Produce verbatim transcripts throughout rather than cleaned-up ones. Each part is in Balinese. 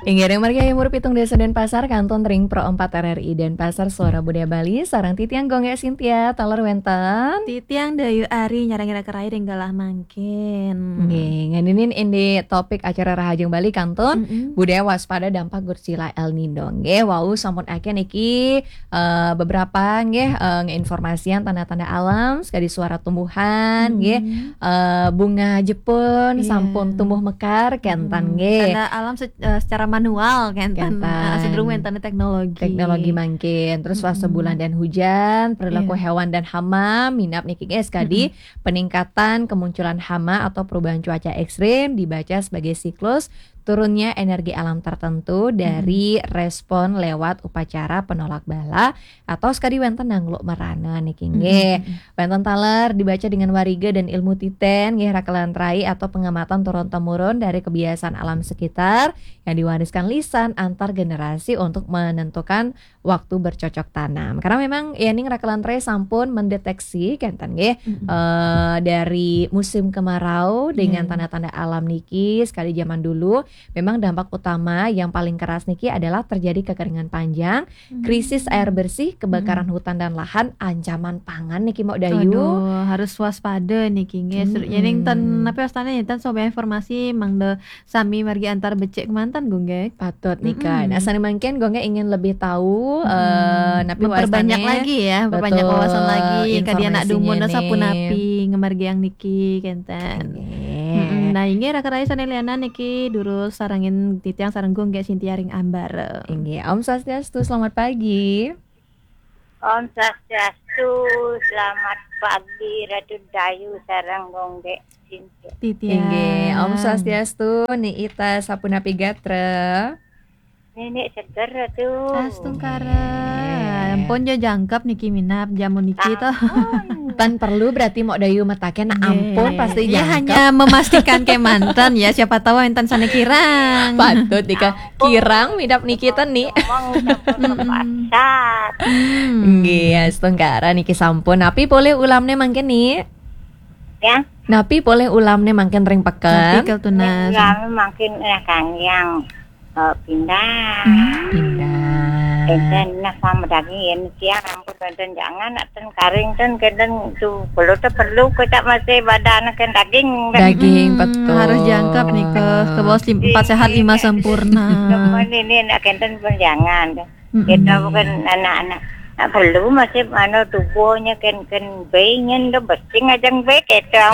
Inggih, ring margi Hayam Wuruk pitung dasa Denpasar, kantun ring Pro empat R R I Denpasar, Suara Budaya Bali, sareng titiang Gung Gek Sintia, taler wenten. Titiang Dayu Ari, nyarengin raka rai ring galah mangkin. Nggih, ngeninin indik topik acara Rahajeng Bali kantun, Mm-mm. budaya waspada dampak Gursila El Nino. Nggih, wau sampun akeh niki, eh, beberapa nggih, eh, ngeinformasian tanda-tanda alam, sekadi suara tumbuhan, Mm-mm. nggih, eh, bunga Jepun Iya. sampun tumbuh mekar, kenten Mm-mm. nggih. Tanda alam se-, eh, secara manual, kenten. Kenten. Eh, sedurung wenten teknologi. Teknologi mangkin. Terus fase Mm-mm. bulan dan hujan, perilaku Iya. hewan dan hama, minab niki nggih sekadi Mm-mm. peningkatan kemunculan hama atau perubahan cuaca ekstrim dibaca sebagai siklus turunnya energi alam tertentu dari Mm-mm. respon lewat upacara penolak bala atau sekadi wenten nangluk merana niki nggih. Mm-mm. Wenten taler dibaca dengan wariga dan ilmu titen nggih, raka lan rai, atau pengamatan turun-temurun dari kebiasaan alam sekitar yang diwariskan lisan antar generasi untuk menentukan waktu bercocok tanam. Karena memang yening raka lan rai sampun mendeteksi kenten nggih, Mm-mm. eh, dari musim kemarau dengan Iya. tanda-tanda alam niki, sekadi zaman dulu, memang dampak utama yang paling keras niki adalah terjadi kekeringan panjang, Hmm. krisis air bersih, kebakaran Hmm. hutan dan lahan, ancaman pangan niki, Mok Dayu. Aduh, harus waspada niki nggih. Ser-, Mm-mm. yening ten, napi wastane, ten sobat informasi mangda sami margi antar becik kemanten, Gung Gek. Patut nika. Mm-mm. Nah, sane mangkin Gung Gek ingin lebih tahu, Mm-mm. eh, napi Memperbanyak wastane. lagi ya, memperbanyak Betul, wawasan lagi. Kadi anak dumun informasinya nih. Sapunapi ngamargiang niki, kenten. Nggih. Mm-mm. Nah, inggih raka rai sane lianan niki durus sarengin titiang sareng Gung Gek Sintia ring ambara. Inggih, Om Swastiastu, selamat pagi. Om Swastiastu, selamat pagi Ratu Dayu sareng Gung Gek Sintia. Titiang. Inggih, Om Swastiastu, Ni Ita sapunapi gatra? Nenek seger Ratu. Astungkara. Nggih. Ampun ja jangkep niki minab jamu niki to. Ampun. Tan perlu berarti Mok Dayu mataken Nggih. ampun pasti Iya, jangkep. Hanya memastikan kemanten ya, siapa tahu enten sane kirang. Patut nika kirang minab niki ten ni. Ngomong sampun Mm-mm. kepasat. Hmm. Nggih, astungkara niki sampun. Napi polih ulamne mangkin ni? Ya. Napi polih ulamne mangkin ring peken? Napi kal tunas? Ulamne mangkin, eh, Kang Yang, eh, pindang. Hmm. Pindang. Enten nah sama daging yen siang ampun enten jangan nak ten karing ten kenten tu perlu te perlu kocak masih badan ken daging. Daging, Mm-mm. betul. Harus jangkep nika, ke bawah lim-, empat sehat, lima sempurna. Teman ini nak kenten pun jangan. Mm-mm. Kita bukan anak-anak. Nak perlu masih anu tubuhnya ken, ken bayi nyen do besing ajang bayi kita.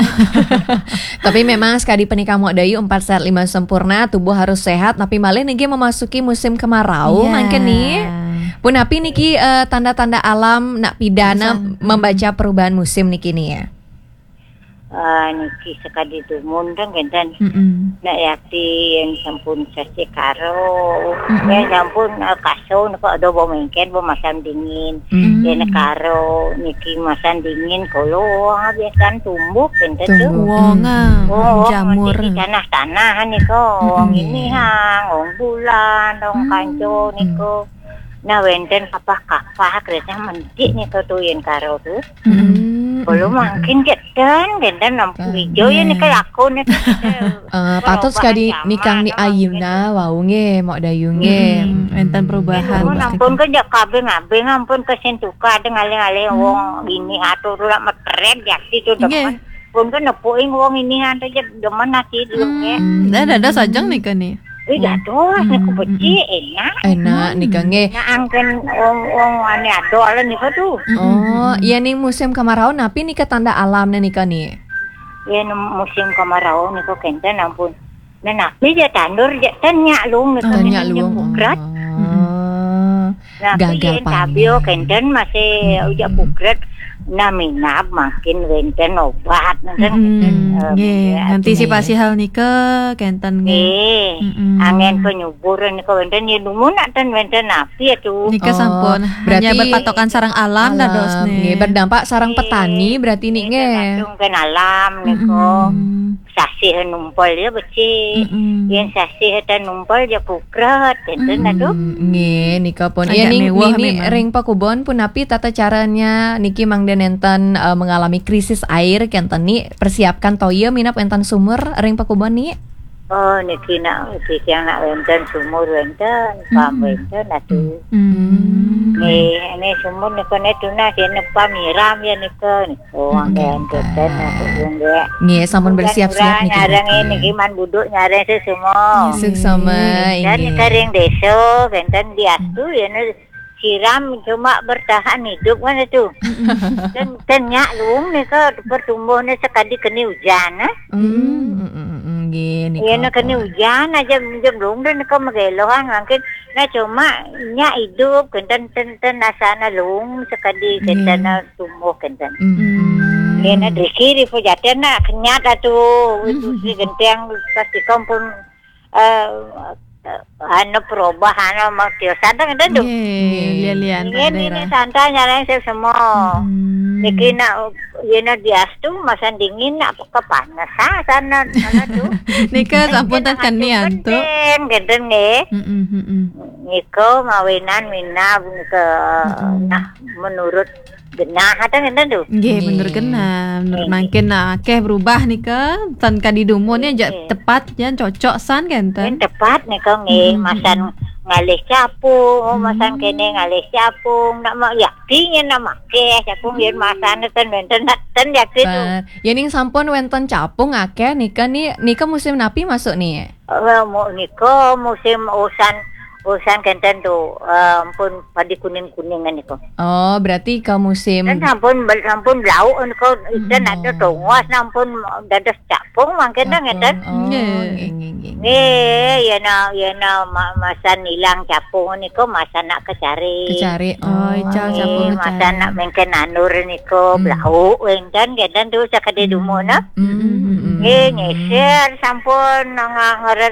Tapi memang sekadi punika Mok Dayu, empat sehat lima sempurna, tubuh harus sehat, tapi malih niki memasuki musim kemarau Iya. mangkin ni. Punapi niki, eh, tanda-tanda alam nak pidana Pesan. membaca perubahan musim niki ni ya? Eh, niki sekadi dumun dong kenten. Mm-mm. Nak yakti yang sampun sasi karo, Mm-mm. yang sampun, eh, kaso niko ada bawa mengken, bawa masam dingin. Mm. Yang karo niki masam dingin, kalau wong biasa tumbuh kenten tu. Tumbuh. Wong, ah, Mm. Oh, wong jamur. Niki tanah-tanah niko, wong Mm-mm. ini hang, wong bulan, wong Mm. kanco niko. Nah, wenten kapah-kapah kereta mendik niko tu yang karo tu. Mm-mm. Kalau mangkin kenten, kenten lampu Kan. hijau ya Iya. niko laku niko. Eh, patut sekadi nikang ni ayuna wau nggih, Mok Dayu nggih. Mm-mm. Wenten perubahan. Ampun, ampun ke jak kabing-abing, ampun ke sentuka ada ngalih-ngalih wong ini atur lah metret ya situ Nggih. depan. Pun ke nepuing wong ini ada je demen nasi dulu ya. Hmm, dah, dah, dah sajang nika ni. Eh, jatuh lah, Hmm, aku becik, hmm. enak. Enak Hmm. nika nggih. Nah, angken wong, wong ane ado ala nika tu. Oh, Hmm. iya ning musim kemarau napi nika tanda alamne nika ni? Ya, nem-, musim kemarau nika kenten ampun. Nah, napi je tandur je ten nyak lung nika Ten nyak kenten je lung. Bukrat. Oh. Hmm. Nah, gagal panen. Tabio kenten masih Mm-mm. ujak bukret. Nah, minab mangkin wenten obat, wenten Mm-mm. kenten, eh, Nggih, ya, antisipasi nggih. hal nika kenten nggih. Nggih. Mm-mm. Angen penyubur nika wenten ya dumun nak ten wenten napi ya tu. Nika Oh, sampun berarti hanya berpatokan sareng alam, alam, dados nih. Nggih, berdampak sarang Nggih. petani berarti nih, Nggih, nggih. tergantung kan alam nika. Mm-mm. Sasih numpal ya becik. Mm-mm. Yen sasih tan numpal ya bukret, enten Mm-mm. aduh. Nggih, nika pun. Agak Ya, ning, mewah ning, ning memang. Ring pakubon punapi tata caranya niki mangda nenten, eh, mengalami krisis air kenten ni, persiapkan toya minab enten sumur ring pakubon ni? Oh, niki nak, titiang nak wénten sumur wénten, pam wénten atuh. Hmm. Nggih, ini sumur nika né tunas yén pam nyiram ya nika. Oh, hmm, wénten atuh nggih. Nggih, sampun bersiap-siap niki. Nyareng niki man buduk nyareng sesemo. Suksma. Dan nggih. Nika ring désa, wénten diastu ya né siram cuma bertahan hidup kan itu. Dan, dan nyak luung nika pertumbuhnya sekadi keni hujan, eh. Hmm, hmm, hmm, hmm, nggih, nika. Iya, nah, keni hujan aja minjem luung dan nika magelohan mungkin. Nah, cuma nyak hidup, kenten, ten, ten, asana luung sekadi, hmm, kenten tumbuh, kenten. Hmm. Iya, nah, driki di pejatian, nah, kenyat atuh. Itu si genteng pasti kampung, eh, anu perubahan, anu, mau tiosan, kenten tuh. Nggih, lian-lian. Nggih, ini santai nyareng sesemo. Hmm. Niki nak, yén diastu masan dingin nak kepanas, ah, sana, sana tuh. Nika sampun ten keni antuk. Kenten nggih. Mm-mm, mm-mm. Nika mawinan minab nika, nah, menurut genah atau ngenten tuh. Nggih, menurut genah, menurut mangkin, nah, akéh berubah nika, ten kadi dumun ya, jak tepat ya, cocok san kenten. Tepat nika nggih, masan ngalih capung, oh, masan kene ngalih capung, nak ma-, yakti nyén nak makéh capung yén masan ten wénten ten yakti tuh. Yén ning sampun wénten capung akéh nika ni, nika musim napi masuk ni? Eh, mu-, nika musim usan, usan kenten tuh, eh, ampun padi kuning-kuningan nika. Oh, berarti ke musim. Kan sampun bel-, sampun blau nika, dan ada tongos sampun dados capung mangkene ngeten. Oh, nggih, nggih, nggih. Nggih, yén, yén ma-, masan ilang capung nika masan nak kecari. Kecari. Oh, ical capung kecari. Masan nak mengken anur nika blau wénten ngeten tuh sakadi dumun, nah. Mm, mm, mm, mm. Nggih, nyeser sampun nga-, ngeren